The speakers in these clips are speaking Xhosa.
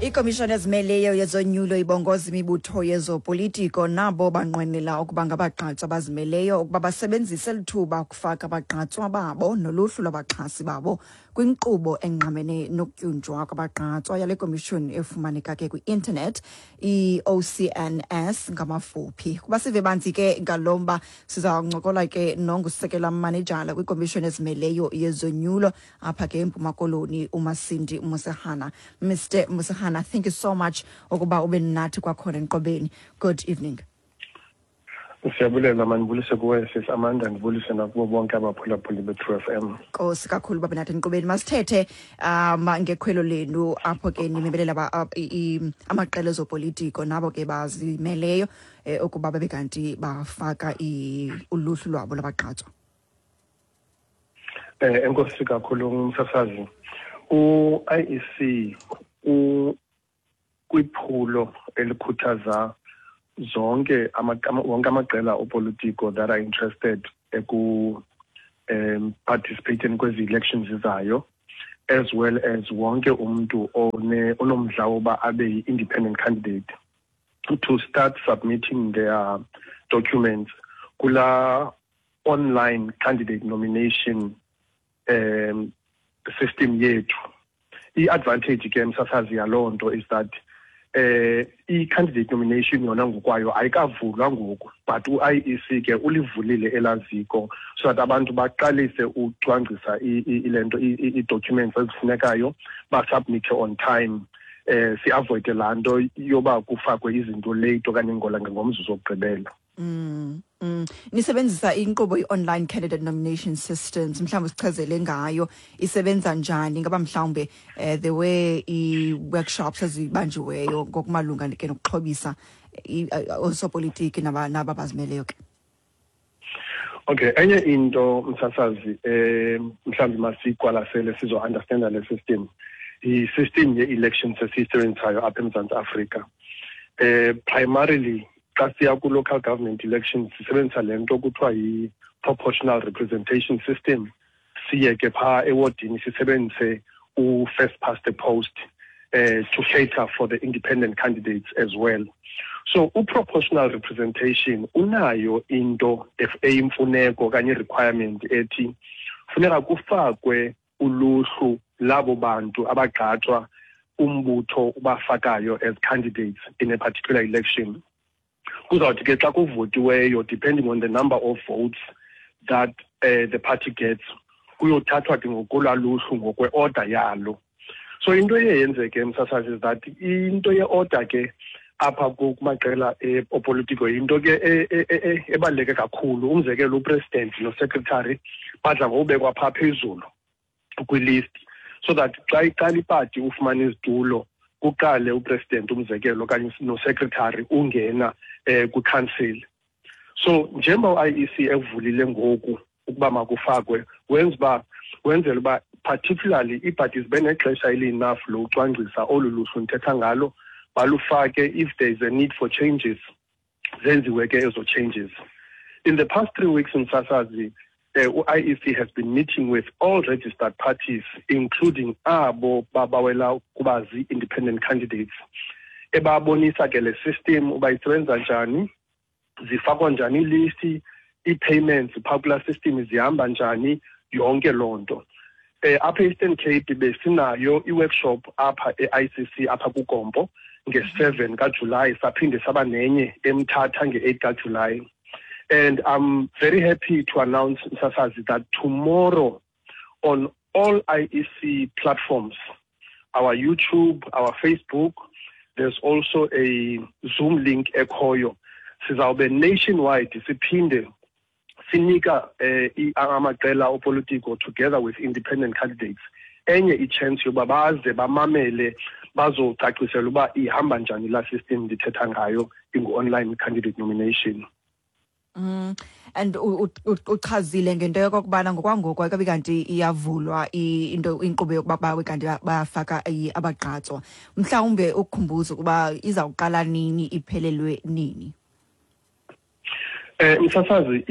Ikomishoni ezimeleyo yezonyulo ibongoza imibutho yezopolitiko nabo banqwenela ukuba ngabagqatswa abazimeleyo ukuba basebenzise eli thuba ukufaka abagqatswa babo noluhlu lwabaxhasi babo kwinkqubo engqamene nokutyunjwa kwabagqatswa yale komishoni efumaneka ke kwi-intanethi, i-OCNS ngamafuphi. Kuba sive banzi ke ngalo mba, siza kuncokola ke nongusekela manejala kwikomishoni ezimeleyo yezonyulo apha ke eMpuma Koloni, uMasindi Musehana. Mr Musehana, thank you so much ukuba ube nathi kwakhona enqobeni. Good evening. Siyabulela. Mandibulise kuwe, sis Amanda, ndibulise nakubo bonke abaphulaphuli be-True FM. Nkosi kakhulu babe nathi enqubeni. Masithethe ngekhwelo lenu apho ke nimemelela amaqela ezopolitiko nabo ke bazimeleyo ukuba babe kanti bafaka uluhlu lwabo lwabagqatswa. Enkosi kakhulu, umsasazi. U-IEC kwiphulo elikhuthaza zonke wonke amaqela opolitiko that are interested eku participating kwezi elections zizayo, as well as wonke umuntu onomdla woba abe yi-independent candidate, to start submitting their documents kula online candidate nomination system yethu. I-advantage ke, msasazi, yaloo nto is that i-candidate nomination yona ngokwayo ayikavulwa ngoku, but u-IEC ke ulivulile elaziko so that abantu baqalise ucwangcisa ile nto, ii-documents ezifunekayo, basubmithe on time, si-avoide laa nto yoba kufakwe izinto late okanye ngola ngomzuzu wokugqibela. Nisebenzisa inkqubo i-online candidate nomination systems. Mhlawumbi sichazele ngayo, isebenza njani? Ngaba mhlawumbe there were i-workshops ezibanjiweyo ngokumalunga ke nokuxhobisa oosopolitiki naba bazimeleyo ke? Okay, enye into, msasazi, mhlawumbi masiqwalasele sizo-understanda le system, i-system ye-elections esiyisebenzisayo apha eMzantsi Afrika. Primarily xa siya ku-local government elections sisebenzisa le nto kuthiwa yi-proportional representation system, siye ke phaa ewodini sisebenzise u-first past the post to cater for the independent candidates as well. So u-proportional representation unayo into eyimfuneko okanye i-requirement ethi funeka kufakwe uluhlu labo bantu abagqatswa umbutho ubafakayo as candidates in a particular election. Kuzawuthi ke xa kuvotiweyo, depending on the number of votes that the party gets, kuyothathwa ke ngokolwaa luhlu ngokwe-order yalo. So into eye yenzeke, msasazi, is that into ye-order ke apha kumaqela opolitiko yinto ke ebaluleke kakhulu. Umzekelo, upresident nosecretary badla ngokubekwa phaa phezulu kwilist so that xa iqala ipati ufumana izitulo, kuqale upresident, umzekelo, okanye nosecretary ungena kwicouncil. So njengoba u-IEC evulile ngoku ukuba makufakwe, wenza uba wenzela uba particularly iipati zibe nexesha eli-enough lokucwangcisa olu luhlu ndithetha ngalo, balufake. If there is a need for changes, zenziwe ke ezo changes. In the past 3 weeks, msasazi, u-IEC has been meeting with all registered parties, including abo babawela ukuba zii-independent candidates, ebabonisa ke le system uba isebenza njani, zifakwa njani iilisti, ii-payments phaa kulaa system zihamba njani, yonke loo nto. Apha e-Eastern Cape besinayo i-workshop apha e-ICC apha kuGompo nge-7 kaJulayi, saphinde saba nenye eMthatha nge-8 kaJulayi. And I'm very happy to announce, msasazi, that tomorrow on all IEC platforms, our YouTube, our Facebook, there's also a Zoom link ekhoyo, sizawube nationwide siphinde sinika amaqela opolitiko together with independent candidates enye i-chance yoba baze bamamele, bazocacisela uba ihamba njani laa system ndithetha ngayo, ingu-online candidate nomination. And uchazile ngento yokokubana ngokwangoku ayikabi kanti iyavulwa into inkqubo yokuba bawe kanti bayafaka abagqatswa. Mhlawumbe ukukhumbuza ukuba izawuqala nini, iphelelwe nini? Msasazi,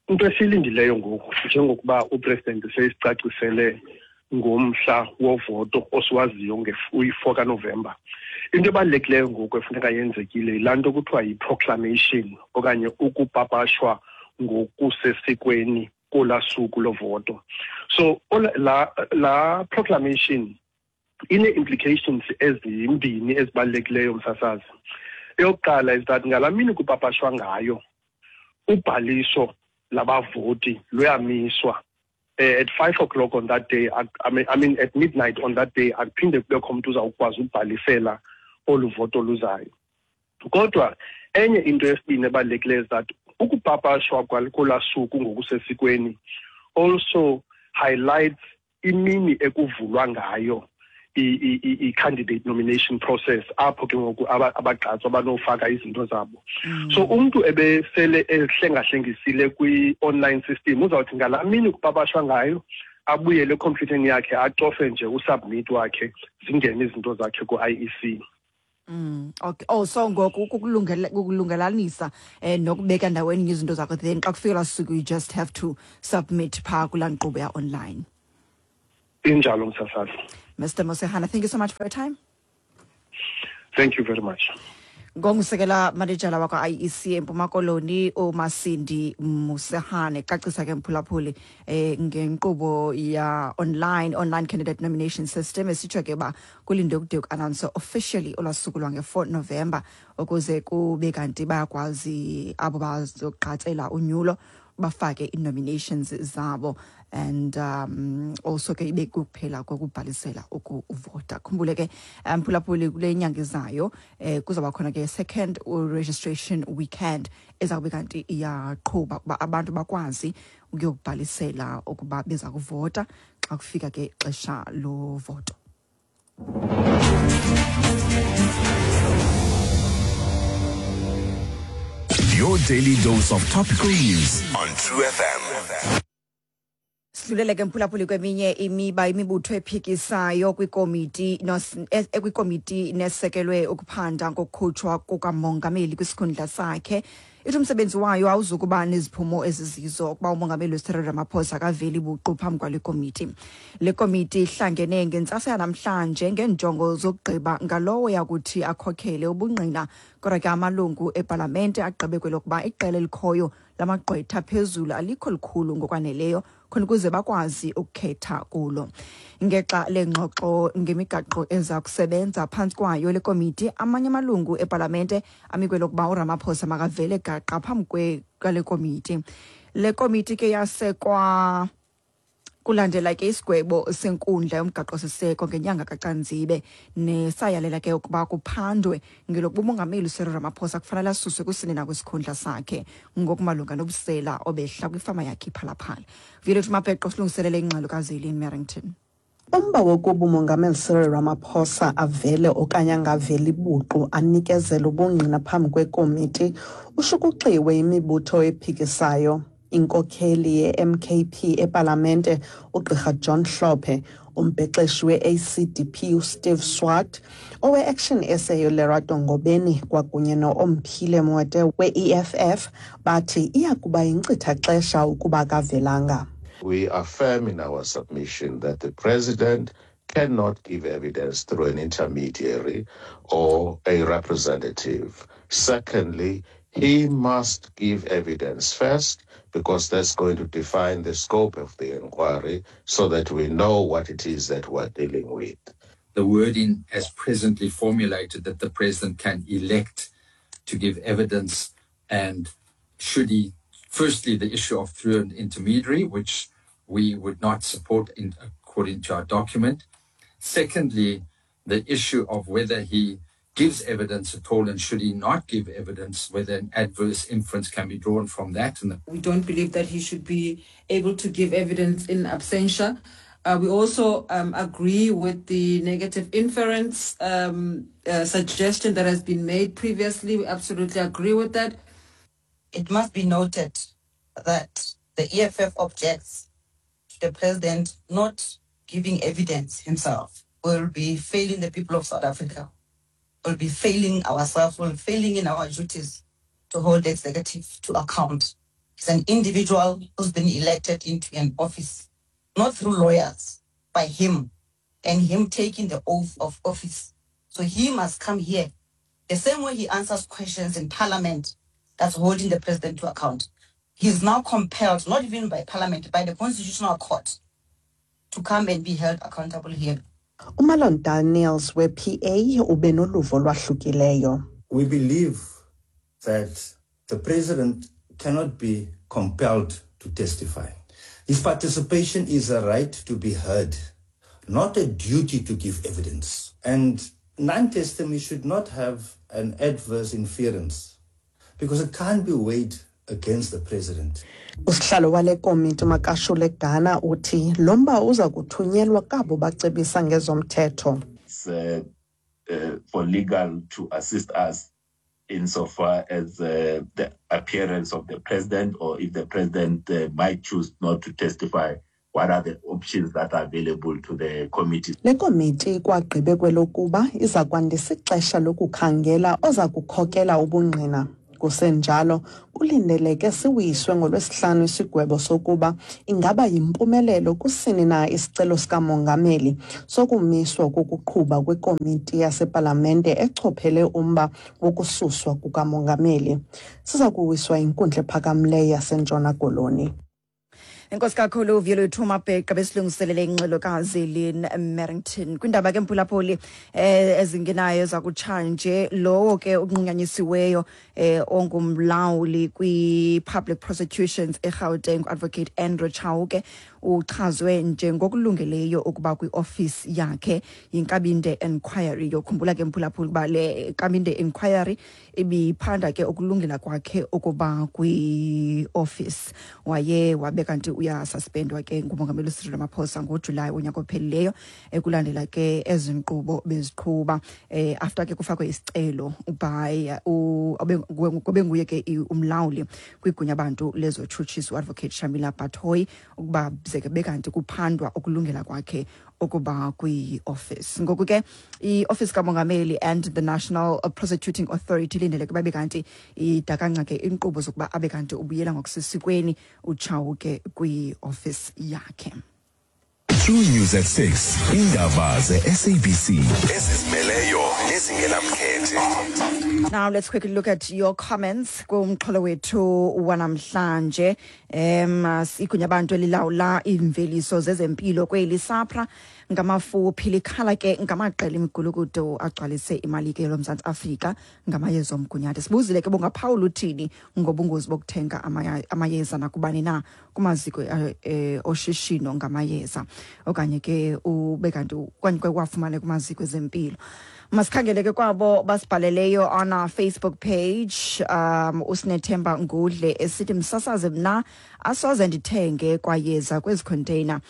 into esiyilindileyo ngoku, njengokuba upresident seyisicacisele ngomhla wovoto osiwaziyo uyi-4 kaNovemba. Into ebalulekileyo ngoku efuneka yenzekile yilaa nto kuthiwa yi-proclamation okanye ukupapashwa ngokusesikweni kolaa suku lovoto. So la proclamation ine-implications ezimbini ezibalulekileyo, msasazi. Eyokuqala is that ngalaa mini kupapashwa ngayo, ubhaliso labavoti luyamiswa. At 5 o'clock on that day, I mean at midnight on that day, akuphinde kubekho mntu uzawukwazi ukubhalisela olu voto luzayo. Kodwa enye into yesibini ebalulekileyo is that ukupapashwa kolaa suku ngokusesikweni also highlights imini ekuvulwa ngayo i-candidate nomination process, apho ke ngoku abagqatswa banofaka izinto zabo. So umntu ebesele ehlengahlengisile kwi-online system uzawuthi ngalaa mini kupapashwa ngayo abuyele ekhompyutheni yakhe, acofe nje usubmit wakhe, zingene izinto zakhe ku-IEC. Okay. Oh, so ngoku kukulungelanisa nokubeka ndaweni izinto zakho, then xa kufika laa suku you just have to submit phaa kulaa nkqubo ya online. Injalo, msasazi. Mr. Mosehana, thank you so much for your time. Thank you very much. Ngongusekela manejala wakwa-IEC eMpuma Koloni uMasindi Mosehane, cacisa ke mphulaphuli ngenkqubo ya online candidate nomination system esitsho ke uba kulindwe kude ku-announce officially olwaa suku lwange-4 November ukuze kube kanti bayakwazi abo bazogqatsela unyulo bafake ii-nominations zabo, and also ke ibe kuphela kokubhalisela ukuvota. Khumbule ke mphulaphuli, kule nyanga izayo kuzawuba khona ke second registration weekend eza kube kanti iyaqhuba ukuba abantu bakwazi ukuyokubhalisela ukuba beza kuvota xa kufika ke ixesha lovoto. Your daily dose of topical news on True FM. Sidlulele ke mphulaphuli kweminye imiba. Imibutho ephikisayo kwikomiti nesekelwe ukuphanda ngokukhutshwa kukamongameli kwisikhundla sakhe ithi umsebenzi wayo awuzukuba neziphumo ezizizo ukuba umongameli Cyril Ramaphosa akaveli buqu phambi kwale komiti. Le komiti ihlangene ngentsasa yanamhlanje ngeenjongo zokugqiba ngalowo yakuthi akhokhele ubungqina, kodwa ke amalungu epalamente agqibe kwelokuba iqela elikhoyo lamagqwetha phezulu alikho likhulu ngokwaneleyo khona ukuze bakwazi ukukhetha kulo. Ngexa lengxoxo ngemigaqo eza kusebenza phantsi kwayo le komiti, amanye amalungu epalamente amikwe lokuba uRamaphosa makavele gaqa phambi kwale komiti. Le komiti ke yasekwa kulandela ke isigwebo senkundla yomgaqo-siseko ngenyanga kaCanzibe nesayalela ke ukuba kuphandwe ngelokuba umongameli uCyril Ramaphosa kufanele asuswe kusini na kwisikhundla sakhe ngokumalunga nobusela obehla kwifama yakhe iPhalaphala. Violet Mapeqo silungiselele ingxelo kaZelin Merrington. Umba wokuba umongameli Cyril Ramaphosa avele okanye angaveli buqu anikezele ubungqina phambi kwekomiti ushukuxiwe imibutho ephikisayo. Inkokheli ye-MKP epalamente ugqirha John Hlophe, umbhexeshi we-ACDP uSteve Swart, owe-Action SA uLerato Ngobeni kwakunye no-Omphile Maotwe we-EFF bathi iya kuba yinkcitha-xesha ukuba akavelanga. We affirm in our submission that the president cannot give evidence through an intermediary or a representative. Secondly, he must give evidence first, because that's going to define the scope of the inquiry so that we know what it is that we're dealing with. The wording as presently formulated, that the president can elect to give evidence, and should he, firstly, the issue of through an intermediary, which we would not support according to our document. Secondly, the issue of whether he gives evidence at all, and should he not give evidence, whether an adverse inference can be drawn from that. And we don't believe that he should be able to give evidence in absentia. We also agree with the negative inference suggestion that has been made previously. We absolutely agree with that. It must be noted that the EFF objects to the president not giving evidence himself. Will be failing the people of South Africa. Will be failing ourselves, will be failing in our duties to hold the executive to account. He's an individual who's been elected into an office, not through lawyers. by him and him taking the oath of office. So he must come here. The same way he answers questions in parliament that's holding the president to account. He is now compelled, not even by parliament, by the constitutional court, to come and be held accountable here. UMarlon Daniels we-PA ube noluvo olwahlukileyo. We believe that the president cannot be compelled to testify. His participation is a right to be heard, not a duty to give evidence. And non-testimony should not have an adverse inference because it can't be weighed against the president. Usihlalo wale komiti uMakashule Gana uthi lo mba uza kuthunyelwa kabo bacebisa ngezomthetho. It's for legal to assist us insofar as the appearance of the president, or if the president might choose not to testify, what are the options that are available to the committee? Le komiti ikwagqibe kwelokuba iza kwandisa ixesha lokukhangela oza kukhokela ubungqina. Kusenjalo, kulindeleke siwiswe ngoLwesihlanu isigwebo sokuba ingaba yimpumelelo kusini na isicelo sikamongameli sokumiswa kokuqhuba kwekomiti yasepalamente echophele umba wokususwa kukamongameli. Siza kuwiswa yinkundla ephakamileyo yaseNtshona Koloni. Enkosi kakhulu Vuyolwethu Mabheqa besilungiselele ingxelokazi Lynn Merrington. Kwindaba ke mphulaphuli ezingenayo zakutshanje, lowo ke unqunyanyisiweyo ongumlawuli kwi-Public Prosecutions eGauteng, Advocate Andrew Chauke, uchazwe njengokulungeleyo ukuba kwi-ofisi yakhe yiNkabinde Inquiry. Yokhumbula ke mphulaphuli ukuba le Nkabinde Inquiry ibiphanda ke ukulungela kwakhe ukuba kwi-ofisi. Waye wabe kanti uyasuspendwa ke ngumongameli uCyril Ramaphosa ngoJulayi wonyaka ophelileyo, ekulandela ke ezi nkqubo beziqhuba after ke kufakwe isicelo by obenguye ke umlawuli kwigunya bantu lezotshutshiso, Advocate Shamila Batohi, ukuba ze ke bekanti kuphandwa ukulungela kwakhe ukuba kwi-office. Ngoku ke i-office kamongameli and the National Prosecuting Authority ilindeleke babe kanti idakanca ke inkqubo zokuba abe kanti ubuyela ngokusesikweni uChauke kwi-office yakhe. True News at 6. Indaba ze-SABC ezizimeleyo nezingenamkhethe. Now let's quickly look at your comments kumxholo wethu wanamhlanje. Igunya abantu elilawula iimveliso zezempilo kweli, SAHPRA ngamafuphi, likhala ke ngamaqela imigulukudu agcwalise imali ke loMzantsi Afrika ngamayeza omgunyathi. Sibuzile ke, bungaphawula uthini ngobungozi bokuthenga amayeza nakubani na kumaziko oshishino ngamayeza, okanye ke ube kanti okanye wafumane kumaziko ezempilo? Masikhangele ke kwabo basibhaleleyo on our Facebook page. Usinethemba Ngudle esithi, "Msasaze, mna asoze ndithenge kwayeza kwezi container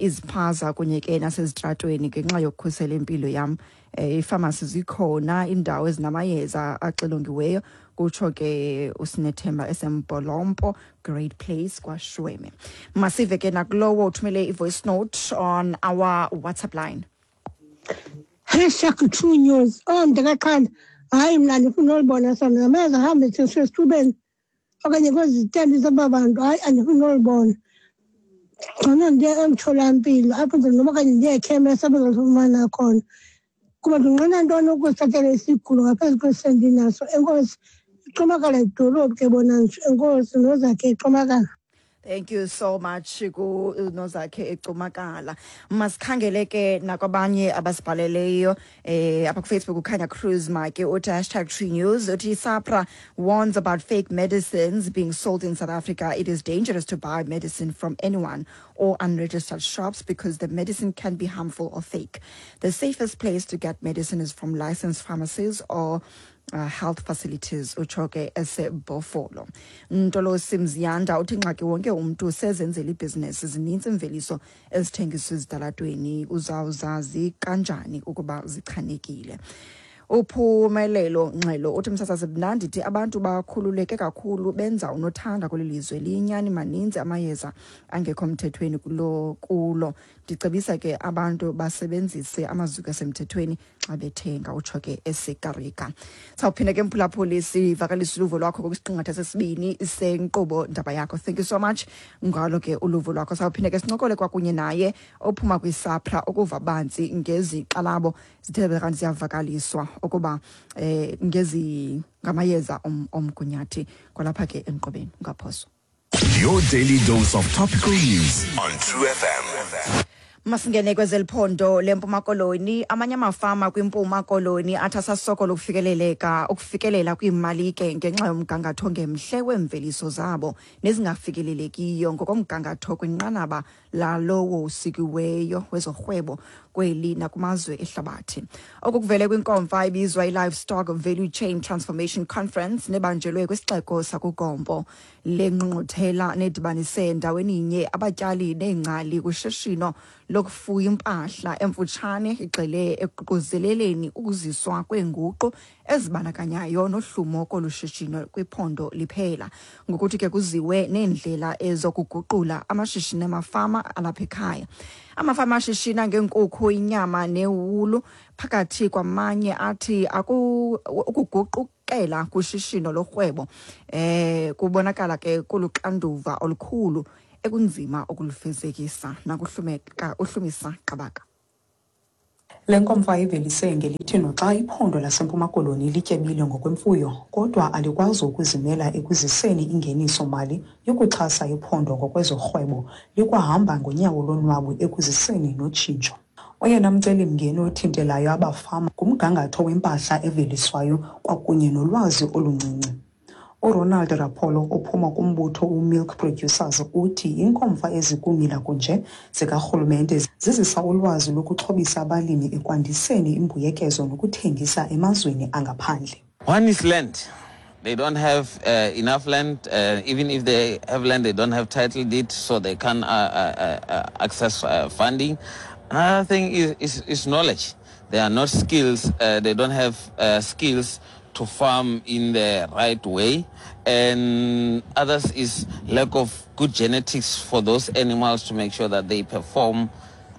iziphaza kunye ke nasezitratweni ngenxa yokukhusela impilo yam. Iifamasi zikhona, iindawo ezinamayeza axilongiweyo," kutsho ke uSinethemba eseMbolompo, Great Place, kwaShweme. Masive ke nakulowo uthumele i-voice note on our WhatsApp line. #TrueNews. Oh, mntakaqhanda, hayi, mna andifuni olibona sona ngamayeza ahambe sesithubeni okanye kwezi zitendi zaba bantu. Hayi, andifuni olibona. Ngcono ndiye emtholampilo apho noba okanye ndiye ekhemesi apho ndizofumana khona, kuba ndinqena ntoni ukuzithathela isigulo ngaphezu kwesi ndinaso. Enkosi. Icumakala idolophu ke bona nje. Enkosi, Nozakhe icumakala. Thank you so much ku Nozakhe ecumakala. Masikhangele ke nakwabanye abasibhaleleyo apha ku Facebook. Ukhanya Cruz Make uthi #TrueNews, uthi, "SAHPRA warns about fake medicines being sold in South Africa. It is dangerous to buy medicine from anyone or unregistered shops because the medicine can be harmful or fake. The safest place to get medicine is from licensed pharmacies or health facilities," utsho ke eseBhofolo. Ntolosi Mziyanda uthi, "Ingxaki wonke umntu sezenzela ibhizinesi. Zinintsi imveliso ezithengiswa ezitalatweni, uzawuzazi kanjani ukuba zichanekile?" Uphumelelo Nxelo uthi, "Msasazi, mna ndithi abantu bakhululeke kakhulu, benza unothanda kweli lizwe. Liyinyani, maninzi amayeza angekho mthethweni kulo. Ndicebisa ke abantu basebenzise amaziko asemthethweni xa bethenga, utsho ke esekarika. Sawuphinda ke, mphulaphuli, sivakalise uluvo lwakho kwisiqingatha sesibini senkqubo Ndaba Yakho. Thank you so much ngalo ke uluvo lwakho. Sawuphinda ke sincokole kwakunye naye ophuma kwiSAPRA ukuva banzi ngezixalabo zithe kanti ziyavakaliswa ukuba ngezi ngamayeza omgunyathi kwalapha ke enkqubeni. Ungaphoswa. Your daily dose of topical news on True FM. Masingene kwezeliphondo leMpuma Koloni. Amanye amafama kwiMpuma Koloni athi asasokola ukufikelela kwiimalike ngenxa yomgangatho ongemhle weemveliso zabo nezingafikelelekiyo ngokomgangatho kwinqanaba lalowo usikiweyo wezorhwebo kweli nakumazwe ehlabathi. Oku kuvele kwinkomfa ebizwa i-Livestock Value Chain Transformation Conference nebanjelwe kwisixeko sakuGompo. Le ngqungquthela nedibanise ndaweninye abatyali neengcali kushishino lokufuya impahla emfutshane igxile ekuququzeleleni ukuziswa kweenguqu ezibandakanyayo nohlumo kolu shishino kwiphondo liphela, ngokuthi ke kuziwe neendlela ezokuguqula amashishini amafama alapha ekhaya. Amafama ashishina ngeenkukhu, inyama newulu phakathi kwamanye athi ukuguqukela kushishino lorhwebo kubonakala ke kuluxanduva olukhulu ekunzima ukulufezekisa. Nakuhlumeka uHlumisa Qabaka. Le nkomfa ivelise ngelithi noxa iphondo laseMpuma Koloni lityebile ngokwemfuyo, kodwa alikwazi ukuzimela ekuziseni ingeniso-mali yokuxhasa iphondo ngokwezorhwebo, likwahamba ngonyawo lonwabu ekuziseni notshintsho. Oyena mcelimngeni othintelayo abafama ngumgangatho wempahla eveliswayo kwakunye nolwazi oluncinci. URonald Rapolo ophuma kumbutho uMilk Producers uthi iinkomfa ezikumila kunje zikarhulumente zizisa ulwazi lokuxhobisa abalimi ekwandiseni imbuyekezo nokuthengisa emazweni angaphandle. One is land. They don't have enough land. Even if they have land, they don't have title deed, so they can't access funding. Another thing is knowledge. They are not skills. They don't have skills to farm in the right way. And others is lack of good genetics for those animals to make sure that they perform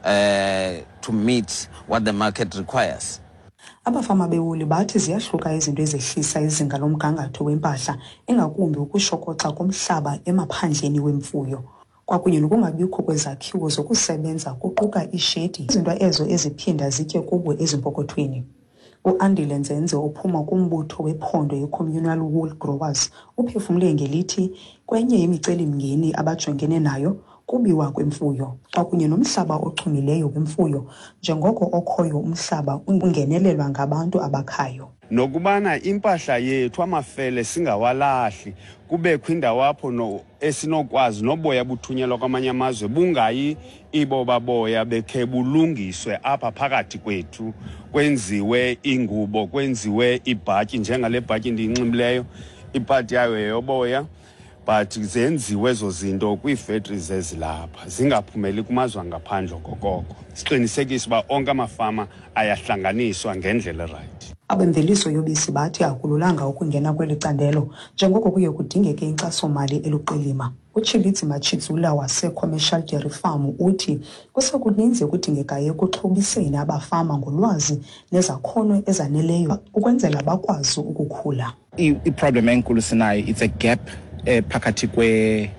to meet what the market requires. Abafama bewuli bathi ziyahluka izinto ezehlisa izinga lomgangatho wempahla, ingakumbi ukushokoxa komhlaba emaphandleni wemfuyo kwakunye nokungabikho kwezakhiwo zokusebenza, kuquka iishedi, izinto ezo eziphinda zitye kubo ezimpokothweni. UAndile Nzenze ophuma kumbutho wephondo i-Communal Wool Growers uphefumle ngelithi kwenye yemicelimngeni abajongene nayo kubiwa kwemfuyo kwakunye nomhlaba ochumileyo wemfuyo, njengoko okhoyo umhlaba ungenelelwa ngabantu abakhayo. Nokubana impahla yethu, amafele, singawalahli, kubekho indawo apho no esinokwazi noboya buthunyelwa kwamanye amazwe bungayi iboba boya bekhe bulungiswe apha phakathi kwethu, kwenziwe ingubo, kwenziwe ibhatyi njengale bhatyi ndiyinxibileyo, ipati yayo yeyoboya, but zenziwe ezo zinto kwii-factories ezilapha, zingaphumeli kumazwe angaphandle. Okokoko siqinisekise uba onke amafama ayahlanganiswa ngendlela erayithi. Abemveliso yobisi bathi akululanga ukungena kweli candelo, njengoko kuye kudingeke inkxasomali eluqilima. UTshilidzi Matshidzula wase-Commercial Dairy Farm uthi kusekuninzi ekudingekayo ekuxhobiseni abafama ngolwazi nezakhono ezaneleyo ukwenzela bakwazi ukukhula. I-problem enkulu sinayo, it's a gap phakathi kwe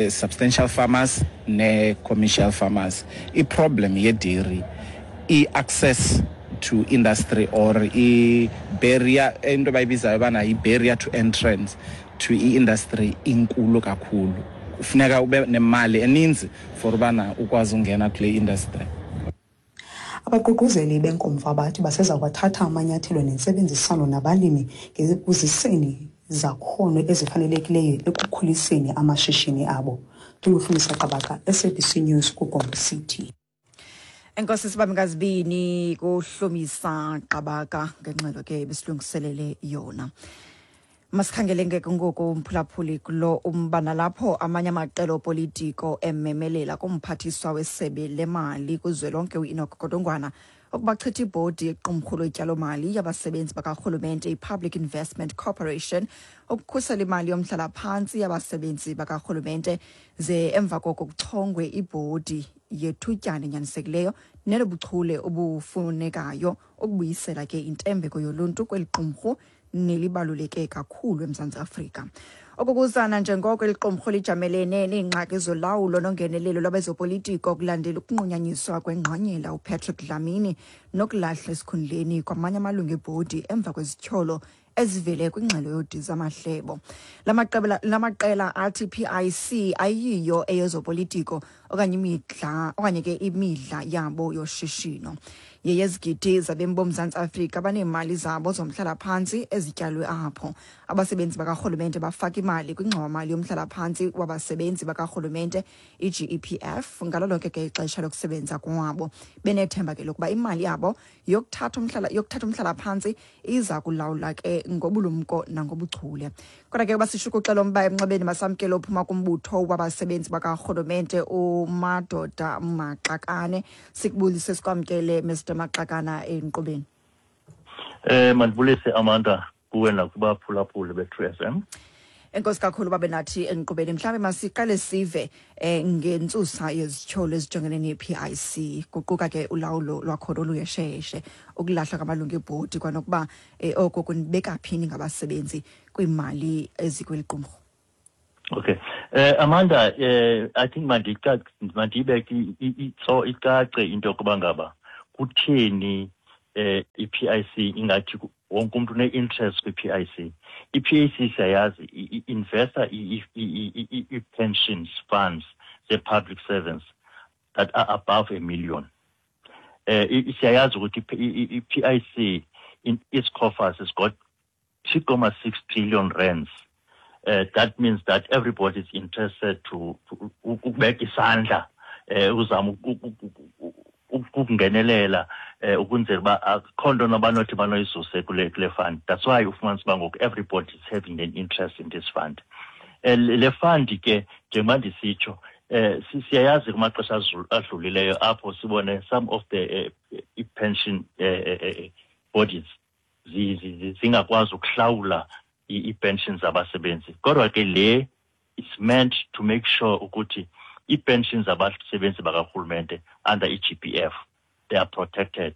substantial farmers ne-commercial farmers. I-problem ye-dairy, i-access to industry or i-barrier, into abayibizayo bana i-barrier to entrance to i-industry, inkulu kakhulu. Kufuneka ube nemali eninzi for ubana ukwazi ungena kule industry. Abaququzeli benkomfa bathi baseza kwathatha amanyathelo nentsebenziswano nabalimi ngekuziseni zakhono ezifanelekileyo ekukhuliseni amashishini abo. NdinguHlumisa Qabaka, SABC News, kuGompo City. Enkosi sibambe ngazibini kuHlumisa Qabaka ngengxelo ke besilungiselele yona. Masikhangele ngeke ngoku, umphulaphuli, kulo umba nalapho amanye amaqela opolitiko ememelela kumphathiswa wesebe lemali kuzwelonke uEnoch Godongwana. Ukuba chitha ibhodi yequmrhu lotyalomali yabasebenzi bakarhulumente i-Public Investment Corporation ukukhusela imali yomhlalaphantsi yabasebenzi bakarhulumente, ze emva koko kuchongwe ibhodi yethutyana enyanisekileyo nenobuchule obufunekayo ukubuyisela ke intembeko yoluntu kweli qumrhu nelibaluleke kakhulu eMzantsi Afrika. Okukuzana njengoko eli qumrhu lijamelene neengxaki zolawulo nongenelelo lwabezopolitiko kulandela ukunqunyanyiswa kwengqonyela uPatrick Dlamini nokulahla esikhundleni kwamanye amalungu ebhodi emva kwezityholo ezivele kwingxelo yodiza amahlebo. La maqela athi PIC ayiyo eyezopolitiko okanye imidla okanye ke imidla yabo yoshishino. Yeyezigidi zabemi boMzantsi Afrika baneemali zabo zomhlalaphantsi ezityalwe apho. Abasebenzi bakarhulumente bafaka imali kwingxowamali yomhlalaphantsi wabasebenzi bakarhulumente i-GEPF ngalo lonke ke ixesha lokusebenza kwabo, benethemba ke lokuba imali yabo yokuthatha umhlalaphantsi iza kulawula ke ngobulumko nangobuchule. Kodwa ke uba sishukuxela umba emnxebeni, masamkele ophuma kumbutho wabasebenzi bakarhulumente uMadoda Maxakane. Sikubulise, sikwamkele, Mr Maxakana, enkqubeni. Mandibulise, Amanda, kuwe nakubaphulaphuli be-True FM. Enkosi kakhulu babe nathi enkqubeni. Mhlawumbi masiqale sive ngentsusa yezityholo ezijongene ne-PIC, kuquka ke ulawulo lwakhona oluyesheshe, ukulahlwa kwamalungu ebhodi, kwanokuba oko kunibeka phi ningabasebenzi kwiimali ezikweli qumrhu. Okay. Amanda, I think mandiyibeke itso icace into yokuba ngaba kutheni i-PIC ingathi wonke umuntu une-interest kwi-PIC. I-PIC siyayazi i-investa i-pensions funds ze-public servants that are above a million. Siyayazi ukuthi i-PIC in its coffers has got 2.6 trillion rands. That means that everybody is interested to ukubeka isandla, uzama ukungenelela, ukwenzela uba akukho nto nabanothi banoyisuse kule fund. That's why ufumanisa uba ngoku everybody is having an interest in this fund. Le fund ke, njengoba ndisitsho, siyayazi kumaxesha adlulileyo apho sibone some of the i-pension bodies zingakwazi ukuhlawula ii-pensions zabasebenzi. Kodwa ke le is meant to make sure ukuthi ii-pensions zabasebenzi bakarhulumente under i-GPF, they are protected,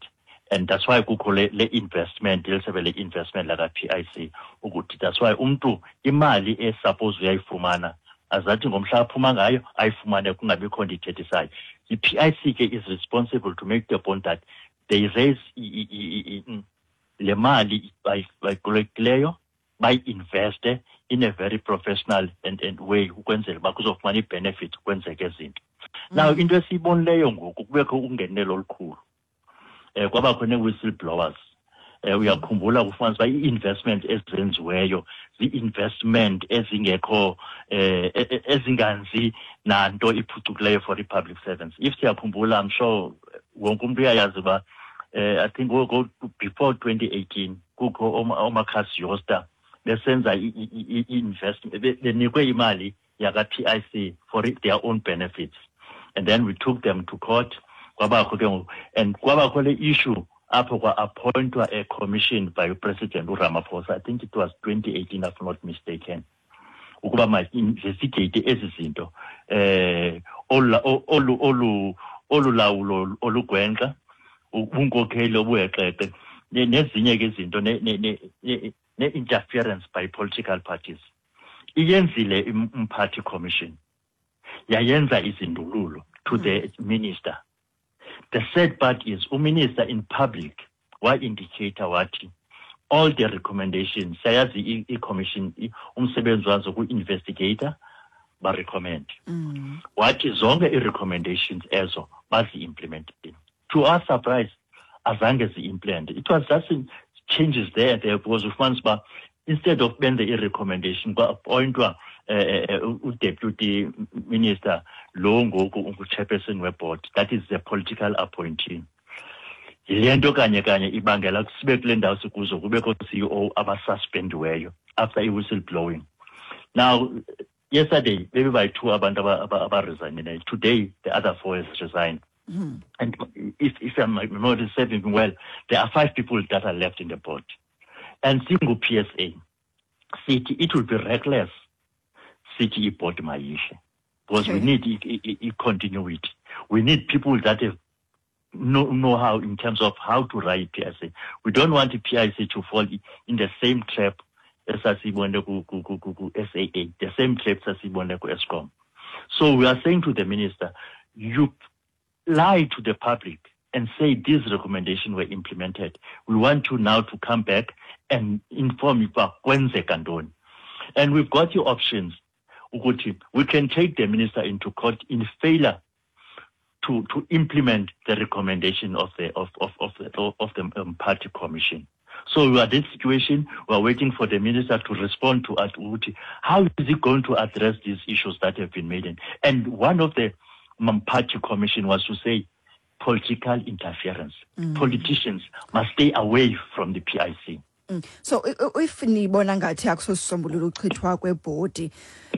and that's why kukho le investment lelisebe le-investment laka-PIC, ukuthi that's why umntu imali e-suppose uyayifumana azathi ngomhla aphuma ngayo ayifumane, kungabikho nto ithethisayo. I-PIC ke is responsible to make the point that they raise le mali bayikolektileyo, bayi-investe in a very professional and way ukwenzela uba kuzofumana i-benefit kwenzeke izinto. Now, into esiyibonileyo ngoku, kubekho ungenelo olukhulu, kwabakho nee-whistleblowers. Uyakhumbula kufumanisa uba ii-investment ezenziweyo zii-investment ezingekho, ezinganzi nanto iphucukileyo for i-public servants. If siyakhumbula, I'm sure wonke umntu uyayazi uba I think go before 2018 kukho ooMarkus Jooste besenza i-investment, benikwe imali yaka-PIC for their own benefits, and then we took them to court. Kwabakho ke ngoku and kwabakho le issue apho kwa-appointwa a commission by uPresident uRamaphosa, I think it was 2018 if I'm not mistaken, ukuba ma-investigate ezi zinto, olu lawulo olugwenxa, ubunkokheli obuheqeqe, nezinye ke izinto, ne-interference by political parties. Iyenzile umphathi commission, yayenza izindululo to the minister. The sad part is uminister in public wa-indicate wathi all the recommendations, siyayazi i-commission umsebenzi wazo ku-investigate, ba-recommend, wathi zonke i-recommendations ezo bazi-implementile. To our surprise, azange zi-implement. It was just changes there and there, because ufumanisa uba instead of benze i-recommendation, kwa-appointwa udeputy minister lo ngoku ungu-chairperson weboard. That is the political appointee. Yile nto kanye kanye ibangela sibe kule ndawo sikuzo, kubekho CEO abasuspendiweyo after i-whistle blowing. Now, yesterday bebebayi-two abantu abaresignileyo. Today the other four has resigned. And if, if I'm not serving well, there are five people that are left in the board. And singu-PSA, sithi it will be reckless sithi ibhodi mayihle because we need i-continuity. We need people that have know-how in terms of how to write PIC. We don't want the PIC to fall in the same trap esasiyibone ku-SAA, the same trap sasiyibone ku-Eskom. So we are saying to the minister, you lie to the public and say these recommendations were implemented. We want you now to come back and inform you uba kwenzeka ntoni. And we've got the options ukuthi we can take the minister into court in failure to, to implement the recommendation of the of of of the of the um, party commission. So we are in this situation. We are waiting for the minister to respond to us. Ukuthi how is he going to address these issues that have been made? And one of the um, party commission was to say political interference. Politicians must stay away from the PIC. So if nibona ngathi akusosisombululo uchithwa kwebhodi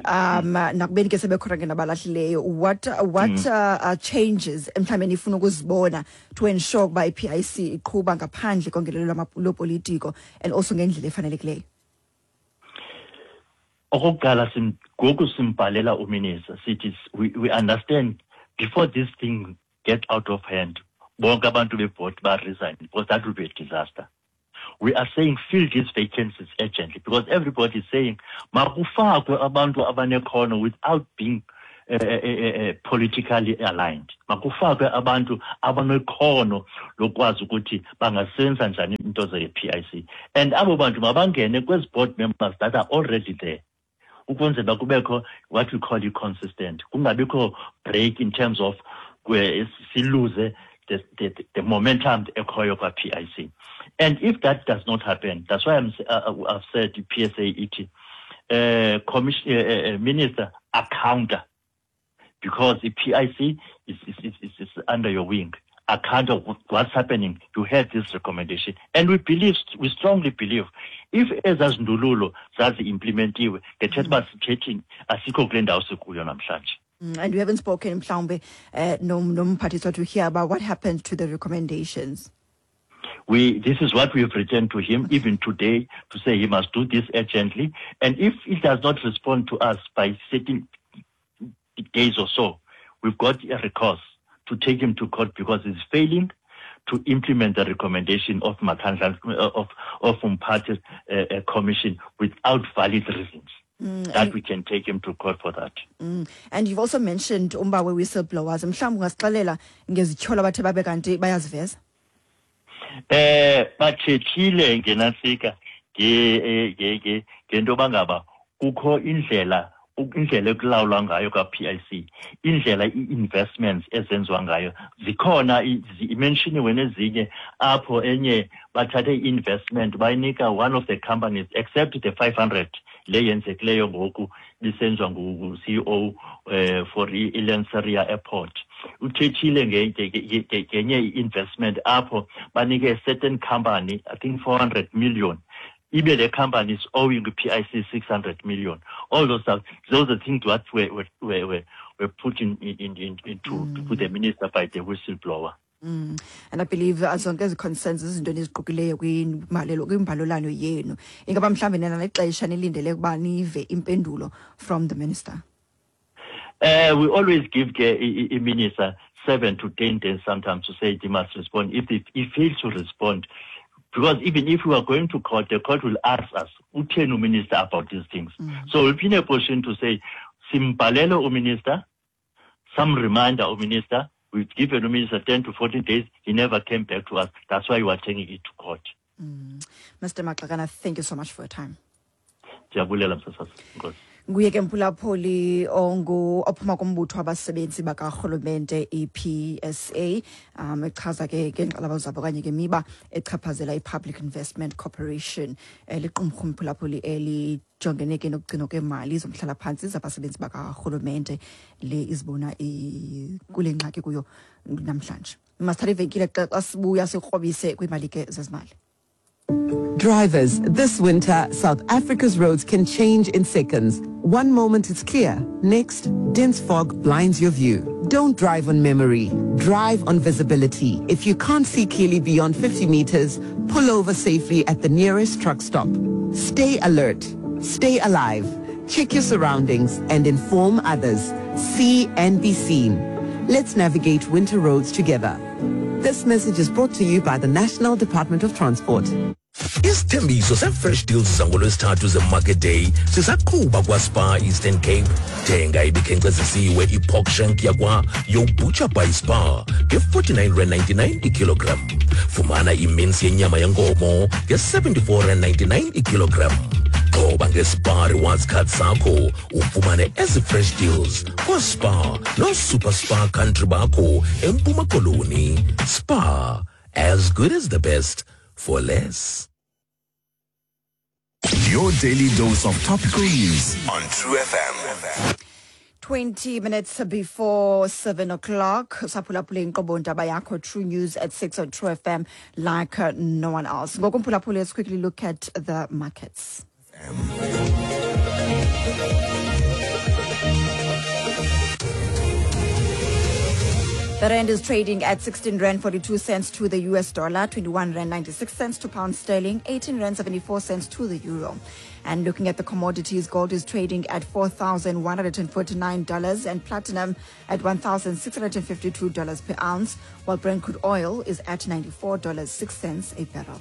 um nakubeni ke sebekhona ke nabalahlileyo what what mm. uh, changes mhlawumbe nifuna ukuzibona to ensure ukuba i-PIC iqhuba ngaphandle kongenelelo lopolitiko and also ngendlela efanelekileyo Okokuqala ngoku simbhalela uminister sithi we, we understand before this thing get out of hand bonke abantu bebhodi ba-resign because that will be a disaster we are saying fill these vacancies urgently because everybody is saying makufakwe abantu abanekhono without being uh, politically aligned makufakwe abantu abanekhono lokwazi ukuthi bangasenza njani into ze-PIC and abo bantu mabangene kwezi board members that are already there ukwenzela kubekho what we call i-consistent kungabikho break in terms of siluze the, the, the momentum ekhoyo kwa-PIC and if that does not happen that's why I'm, uh, I've said PSA ithi uh, commission, uh, uh, minister accounter because the PIC is, is, is, is, is under your wing account of what's happening you had this recommendation and we believe we strongly believe if ezazindululo zazi-implementiwe ngethetha uba sithethini asikho kule ndawo sikuyo namhlanje Mm, and we haven't spoken mhlawumbe uh, nomphathiswa to hear about what happened to the recommendations we this is what we have written to him even today to say he must do this urgently and if he does not respond to us by certain days or so we've got a recourse to take him to court because he's failing to implement the recommendation of Makhandla, of of Umphathi uh, Commission without valid reasons. Mm, that we can take him to court for that. Mm. And you've also mentioned umba we-whistleblowers. Mhlawumbi ungasixelela ngezityholo abathe babe kanti bayaziveza? Eh bathethile ngenasika nge nge ngento bangaba kukho indlela indlela ekulawulwa ngayo kwa-PIC indlela ii-investments ezenziwa ngayo zikhona imenshiniwe nezinye apho enye bathathe i-investment bayinika one of the companies except the 500 le yenzekileyo ngoku bisenziwa ngu-CEO eh for i-Lanseria Airport uthethile ngenye i-investment apho banike a certain company i think 400 million ibe le company is owing PIC 600 million all those stuff those are things what were were were, were put in, in, in, into mm. to the minister by the whistleblower Mm. And I believe uh, zonke ezi concerns izinto eniziqukileyo kwimbalelo kwimbalolano yenu. Ingaba mhlawumbi nina nexesha nilindele ukuba nive impendulo from the minister. Uh, we always give the minister 7 to 10 days sometimes to say he must respond. If he, he fails to respond, because even if we are going to court, the court will ask us, utheni minister about these things. Mm. So we'll be in a position to say, simbalelo minister, some reminder minister, we've given minister 10 to 14 days, he never came back to us. That's why we are taking it to court. Mm. Mr. Maxakana, thank you so much for your time. Ndiyabulela msasazi. Enkosi. Nguye ke mphulaphuli ongu ophuma kumbutho wabasebenzi bakarhulumente i-PSA um echaza ke ngeenkxalabo zabo okanye ke miba echaphazela i-Public Investment Corporation eh, liqumrhu mphulaphuli elijongene ke nokugcinwa kweemali zomhlalaphantsi zabasebenzi bakarhulumente le izibona kule ngxaki kuyo namhlanje. Masithathe ivenkile xa sibuya sikrobise kwiimali ke zezimali. Drivers, this winter, South Africa's roads can change in seconds. One moment it's clear, next, dense fog blinds your view. Don't drive on memory. Drive on visibility. If you can't see clearly beyond 50 meters, pull over safely at the nearest truck stop. Stay alert. Stay alive. Check your surroundings and inform others. See and be seen. Let's navigate winter roads together. This message is brought to you by the National Department of Transport. Isithembiso se-fresh deals zangolwesithathu ze-market day sisaqhuba kwaSpar Eastern Cape. Thenga ibikhenkcezisiwe i-pork shank yakwa Yo Butcher by Spar nge-49 rand 99 ikilogram. Fumana iminsi yenyama yenkomo nge-74 rand 99 ikilogram. Xhoba nge-Spar Rewards Card sakho ufumane ezi fresh deals kwaSpar noSuper Spar Country bakho eMpuma Koloni. Spar, as good as the best for less. Your daily dose of topical news on True FM. 20 minutes before 7 o'clock. Saphulaphula inkqubo ndaba yakho True News at 6 on True FM like no one else. Ngoku mphulaphula, let's quickly look at the markets. The rand is trading at 16 rand 42 cents to the US dollar, 21 rand 96 cents to pound sterling, 18 rand 74 cents to the euro. And looking at the commodities, gold is trading at $4,149 and platinum at $1,652 per ounce, while Brent crude oil is at $94.06 a barrel.